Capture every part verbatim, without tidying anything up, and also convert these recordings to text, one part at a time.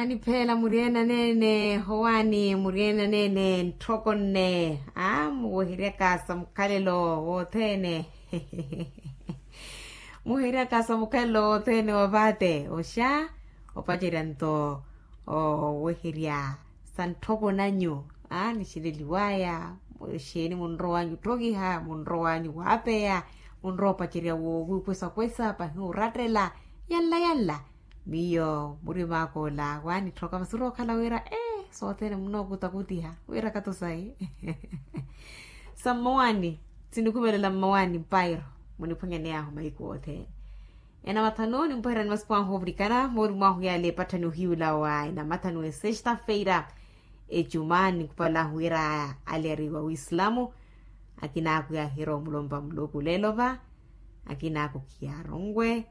Anipheela muryeena neene howaani muryeena neene ntthoko nne. Aa muweheryaka sa mukhalelo wothene. Muweheryaka sa mukhalelo wothene wa vaate oxa opacerya nto oweherya sa ntthoko nanyu. Aa nixeleliwaya. Xeeni munrowanyu otthokiha munrowanyu waapeya munrowa opacerya wo wiikwesakwesa pahi orattela. Yanla yanla. Miyo murima aka ola waanitthooka masi orowa okhala wira ee sothene munookutakutiha wira kato sayi. Sa mmawani sinikhumelela mmawani mpairo muniphwanyaney'ahu mahiku othene. Enamathanu nimpweherani masipu ahu ovirikana moori mwahu yale epatthani ohiyula wa enamathanu esexta-feira. Ecuma ninkhupalahu wira ale ari wa wiislamu. Akinaaku yaahirowa omulompa muluku leelo va. Akinaaku khiyaaronwe.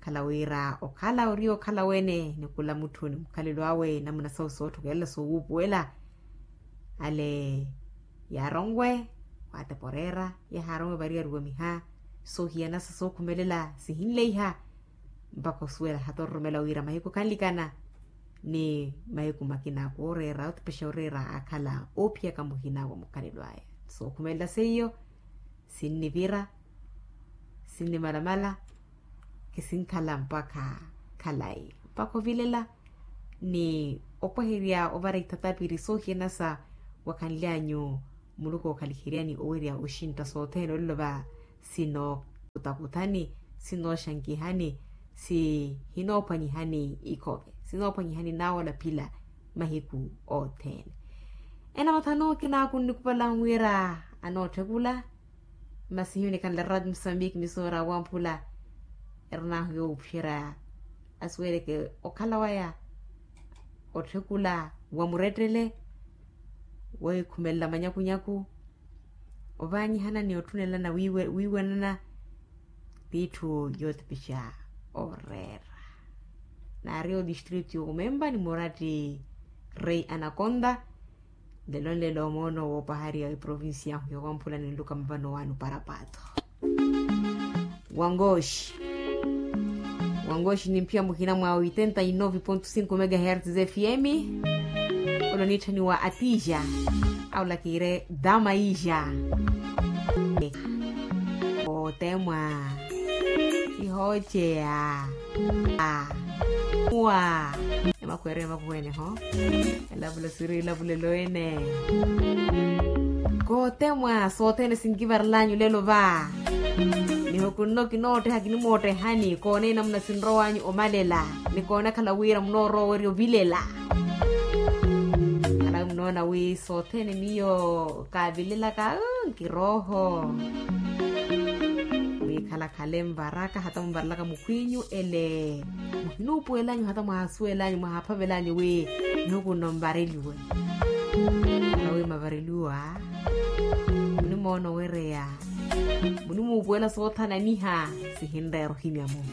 Khala wira okhala ori okhala wene ni khula mutthu ni mukhalelo awe namuna sawu sootthokelela soowuupuwela. Ale yaaronwe waatepa oreera. Yahaaronwe variyari wamiha soohiyanasa sookhumelela sihinleiha. Mpakha osuwela hata ororomela wira mahiku khanlikana ni mahiku makina kooreera otipexa oreera akhala oophiyaka muhina wa mukhalelo aya. Sookhumelela seiyo sinnivira sinnimalamala. Kisinkhala mpakha khalayi mpakha ovilela ni opweherya ovara ithatapiri soohiyana sa wakhanlyanyu. Muluku ookhaliheryani owerya oxintta sothene olilova sinookutakutthani sinooxankihani sihinoophwanyihani ikhove sinoophwanyihani naawala phila mahiku othene. Enamathanu kinaaku nnikupala wira anootthekula. Masi hiyo nikanlera msambiiki misoora wamphula erinahu yoophyerya asuweleke okhala waya otthekula wa murettele wookhumelela manyakunyaku ovaanyihana ni otthunelana wiiwanana t'itthu yootipixa oreera. Naari odistritu omempa ni muratti rei anakonta. Nlelo nlelo moono woopahariya eprovincia ahu yowamphula ninluka mavano wanu parapato. Wangooxi wangooxi nimphiya muhina mwa oitenta y nove ponto cinco megahertz fm. Olo niitthaniwa atija aula kiire dama ija. Otemwa ihooceya. Wa emakhweeryo emakhweene ho. Elavula siri elavulelo ene kootemwa sothene sinkivarelanyu lelo va. Nihukunno kinootteha kinimoottehani koone namuna sinrowanyu omalela nikoone akhala wira munoorowa owerya ovilela. Khalawi munoona wi sothene miyo kaavilelaka nkirooho. Wi khalakhale mvaraka hata mvarelaka mukhwinyu ele muhinuupuwelanyu hata mwahasuwelanyu mwahaphavelanyu wi nihukunno mvareliwe. Khalawi mavareliwa munimoona owereya munimuupuwela soothananiha sihinreera ohimya mu